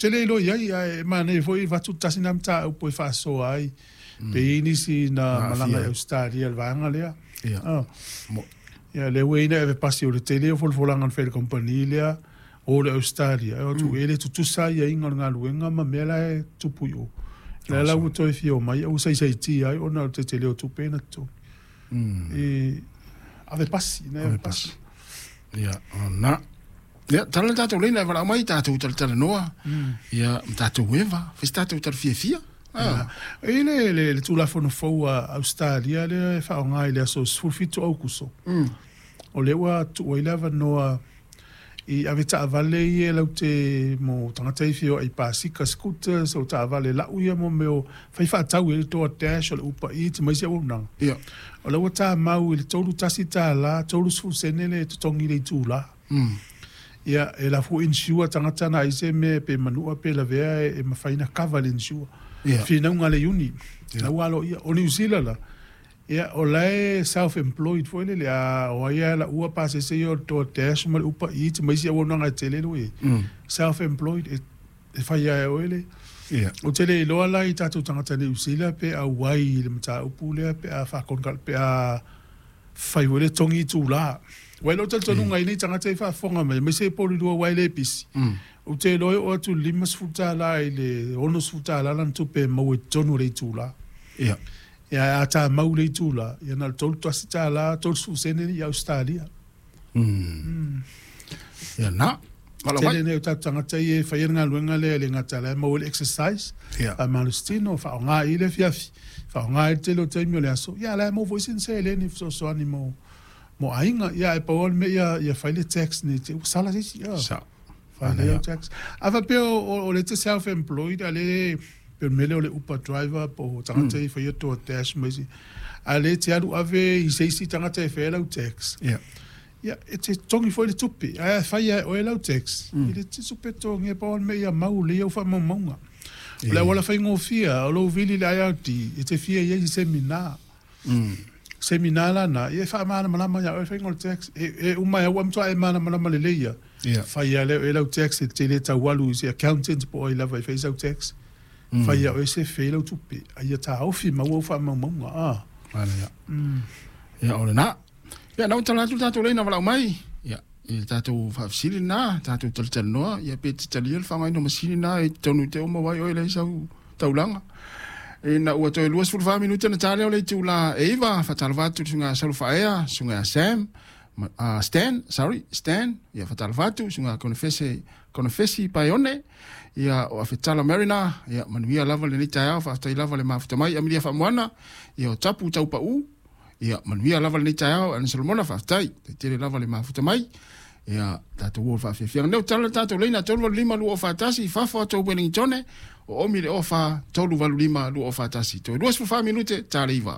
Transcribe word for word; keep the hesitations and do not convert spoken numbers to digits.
Te le iloa i ai, ae manaia foi avatu tasi na mataupu e faasoa ai pe i ai nisi na malaga i Ausetalia i le vaega lea. Ia. Ia, lea ua i ai na ave pasi o le tele o folafolaga na fai e le kamupani lea o le Ausetalia, e o atu e le tutusa aiaiga o le galuega ma mea la e tupu i o. Lea la ua toe fia omai ae ua saisaitia ai ona o le tetele o tupe na totogi. E ave pasi, ina ave pasi. Ia, ona. Ia, tala le tatou leina e valaau mai, tatou talatalanoa, ia, ma tatou eva, fai se tatou tala fiafia. Ah. E i le, le, le Tulafono fou a Ausetalia lea e faaaoga i le aso sefulu fitu o Aukuso, mm. o lea ua tuu ai le avanoa i ave taavale ia lau te mo tagata i fia i pasika scooters o taavale lau ia mo mea o fai faatau i le DoorDash o le Uber Eats ma isi auaunaga. Ia. O lea ua tamau i le tolu tasi tala, tolu sefulu sene le totogi i le itula. Mm. Ia, e lafu insure tagata na ai se mea pe manua pe lavea e, e mafai na cover le insure. Ia. Finauga le iuni. Ia. La ua alo ia. O New Zealand la, ia, o la e self-employed foi lele, a o ai a la ua pasese ia o le DoorDash ma le Uber Eats ma isi auaunaga e tele le e. Mm. Self-employed e, e fai ai oe le. Ia. O te le iloa la i tatou tagata New Zealand pe auai i le mataupu lea pe a whakonga, pe a fai foi le togi itula. Ua iloa talitonuga i nei tagata e faafofoga mai, aemaise e polulua ua e le pisi. Mm. Ou te iloa e oo atu i le limasefulu tala i le onosefulu tala lana tupe e maua i totonu o le itula. Ia. Ia, a tamau le itula, ia na o le tolu tasi tala, tolusefulu sene i Ausetalia. Mm. Ia, na. Valaau mai. Tele nei o tatou tagata ia e faia le galuega lea e le gata la e maua le exercise, Ia. faamalositino, faaaoga i le afiafi, faaaoga i le tele o taimi o le aso. Ia, la e maua foi sina seleni e fesoasoani mo mo aiga. Ia, e pau lava le mea ia, ia fai le tax nei te ua sala se isi. Ia. Sa. Fai le tax. A faapea o, o, o le te self-employed, a le pe o le mea lea o le Uber driver po o tagata i faia DoorDash ma isi. A le te alu ave i se isi tagata e faia lau tax. Ia. Ia, e te togi foi le tupe. Ae a fai e oe lau tax, Mm. i le te tupe togi e pau le mea ia mau le au faamaumauga. O le auala faigofie, o lou vili le I R D, e te fia i ai se seminar. Mm. Seminar lana, ia e faamalamalama ia oe faiga o le tax. E, e uma e au amatoa e malamalama lelei ia. Ia. Fai ia lea e lau tax e te le taualu i se accountant po o ai lava e fai sau tax. Mm. Fai ia oe se fei lau tupe. A ia taofi maua au faamaumauga. Ah. Ala ia. Mm. Ia, o lena. Ia, na ua tala atu le tatou leina valaau mai. Ia, i le tatou faafesili lena, tatou talatalanoa, ia pe te talia le faaaogaina o masini na e totonu i te uma ai oe leai sau taulaga. Ina ua toe luasefulu fa minute na ta lea o le itula e iva, faatalofa atu le susuga Saulo Faaea, susuga ia Sam, ma, uh, Stan, sorry, Stan, ia faatalofa atu, susuga Konefese, Konefesi Paione, ia o Afetala Marina, ia manuia lava lenei taeao, faafetai lava le mafuta mai, Amilia Faamoana, ia o Tapu Taupau, ia manuia lava lenei taeao, Ana Solomona, faafetai, taitele lava le mafuta mai, ia tatou o faafiafiaga. Nei o tala le tatou leina, tolu valu lima lua o faatasi, fafo atu Wellingtone, o omi le ofa, tolu valu lima lua o faatasi. Toe luasefulu fa minute, ta le iva.